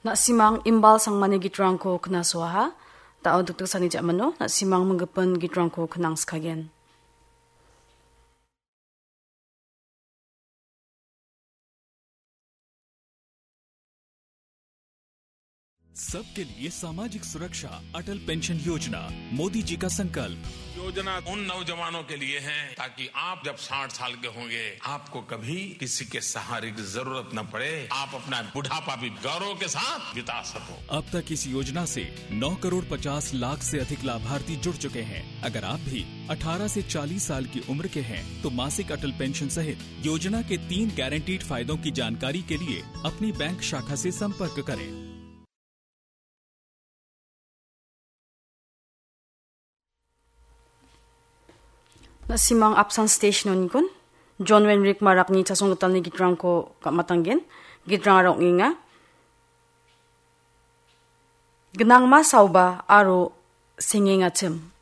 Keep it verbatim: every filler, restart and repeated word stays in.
Na·simang imbal sangmani gitrangko knasoaha. Da·o dikdiksani ja·mano na·simang minggipin gitrangko knangskagen. सबके लिए सामाजिक सुरक्षा, अटल पेंशन योजना, मोदी जी का संकल्प। योजना उन नौजवानों के लिए है, ताकि आप जब साठ साल के होंगे, आपको कभी किसी के सहारे की जरूरत न पड़े, आप अपना बुढ़ापा भी गौरव के साथ बिता सको। अब तक इस योजना से नौ करोड़ पचास लाख से अधिक लाभार्थी जुड़ चुके हैं। अगर आप भी अठारह से चालीस साल की उम्र के हैं, तो मासिक अटल पेंशन सहित योजना के तीन गारंटीड फायदों की जानकारी के लिए अपनी बैंक शाखा से संपर्क करें। Na·simang apsan station onikon, John Wenrik Marakni chasong gitalni gitrangko ka·matanggen, gitrang aro ong·enga. Gnangma saoba aro sengengachim.